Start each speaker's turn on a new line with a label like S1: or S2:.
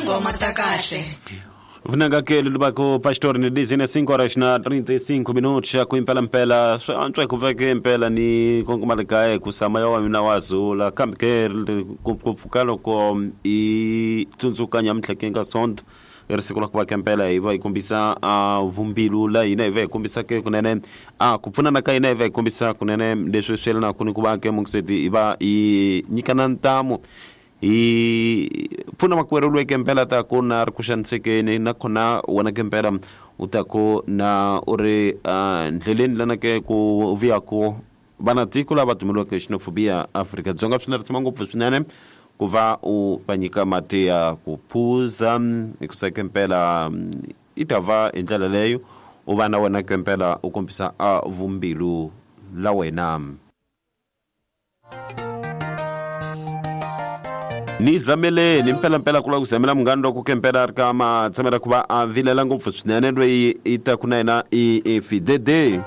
S1: Tinghoma ta kahle.
S2: Vunanga ke lubako pastor ni dizine 5 horas na 35 minutos ya kuimpela mpela swi antswa ku veke mpela ni kongoma kaya ku sama ya wa mina wa zula kambe ke ku pfuka loko i tsundzuka nyamuntlha ke nga sonto i ri siku ra ku va kempela hi va hi kombisa a vumbilu la hina hi va hi kombisa ke kunene a ku pfunana ka hina hi va hi kombisa kunene leswi swi yelanaka ni ku va ke mungiseti hi va hi nyikana ntamu hi pfuna makwerhu loyi kempela ta ku na ri ku xanisekeni nakona wena kempela u ta ku na u ri ndleleni lana ke ku vuyaku vana tiko lava dumeliweke xenophobia Afrika-Dzonga swi na risima ngopfu swinene ku va u va nyika mati ya ku phuza hikusa kempela i ta va hi ndlela leyo u va na wena kempela u kombisa a vumbilu la wena. Ni zameleni mpelampela ku lava ku zamela munghana loko kempela a ri ka matshamela ku va a vilela ngopfu swinene loyi i taku na yena i fidede.